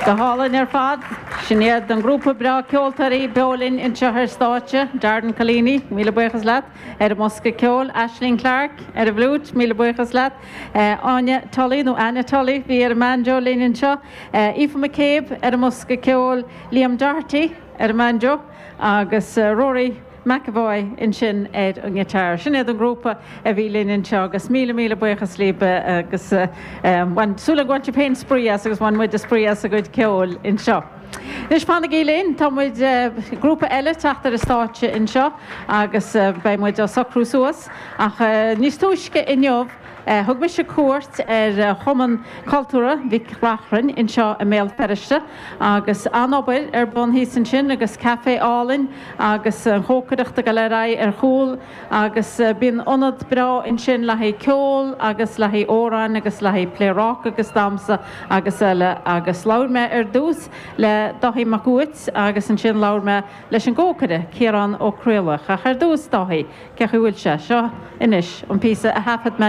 Go hálainn ar fad. Sin iad an grúpa breá ceoltóirí beo linn anseo ar stáitse. Darren Collini, míle buíochas leat, ar an mbosca ceoil. Aisling Clarke ar an bhfliúit, míle buíochas leat. Áine Tully, nó Anna Tully, bhí ar an mbanjo linn anseo. Aoife McCabe ar an mbosca ceoil. Liam Doherty ar an mbanjo agus Rory. McEvoy ansin ar an ngiotár. Sin iad an grúpa a bhí linn anseo agus míle míle buíochas libh agus bhain, súil agam gur bhain sibh féin spraoi as agus bhain muide spraoi as a gcuid ceoil anseo. Anois fanaigí linn, tá muid, grúpa eile teacht ar an stáitse anseo agus beidh muid á socrú suas ach níos túisce inniu, Thug mise cuairt ar Chumann Cultúrtha Mhic Reachrainn anseo i mBéal Feirste agus an-obair ar bun thíos ansin agus caife álainn agus an chócaireacht ag dul ar aghaidh ar chúl agus bíonn ionad breá ansin le haghaidh ceol agus le haghaidh amhráin agus le haghaidh pléaráca agus damhsa agus eile agus labhair mé ar dtús le Dáithí Mac Uait agus ansin labhair mé leis an gcócaire Ciarán Ó Craoláich ach ar dtús Dáithí Cén chaoi a bhfuil sé? Seo anois an píosa a thaifead mé.